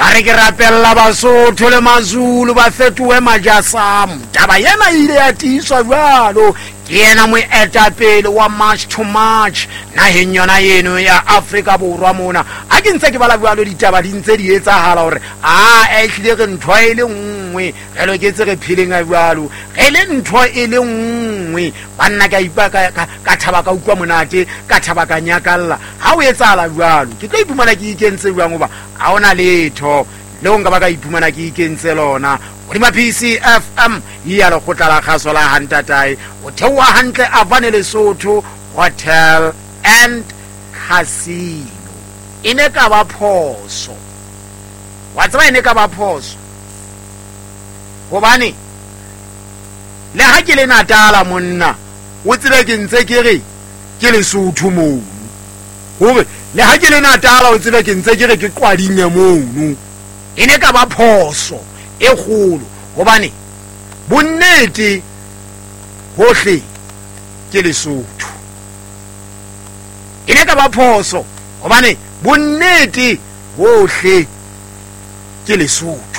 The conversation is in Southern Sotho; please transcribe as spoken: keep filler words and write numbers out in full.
A re ke rapella Basotho le Mazulu ba fetohe majasamo. Taba ena e ile ya tiiswa jwalo ke yena moetapele wa March to March naheng yona eno ya Afrika Borwa mona. Ha ke ntse ke bala jwalo ditaba di ntse di etsahala hore a ehlile re ntho e le nngwe, re loketse re pheleng a jwalo, re le ntho e le nngwe. Banna ka ipa ka, ka, ka thaba ka utlwa monate, ka thaba ka nyakalla. Ha o etsahala jwalo ke tlo iphumana ke ikentse jwang, hoba ha hona letho leo nka ba ka iphumana ke ikentse lona. Hodima P C F M ya lekgotla la kgaso la Hantatae, o theoha hantle Avane Lesotho Hotel and Casino. E ne ka ba phoso, wa tseba e ne ka ba phoso, hobane le ha ke le Natala monna, o tsebe ke ntse ke re ke Lesotho mono, hore le ha ke le Natala o tsebe ke ntse ke re ke Qwadinge mono. E ne ka ba phoso e kgolo, hobane bonnete hohle ke Lesotho. E ne ka ba phoso hobane bonnete hohle ke Lesotho.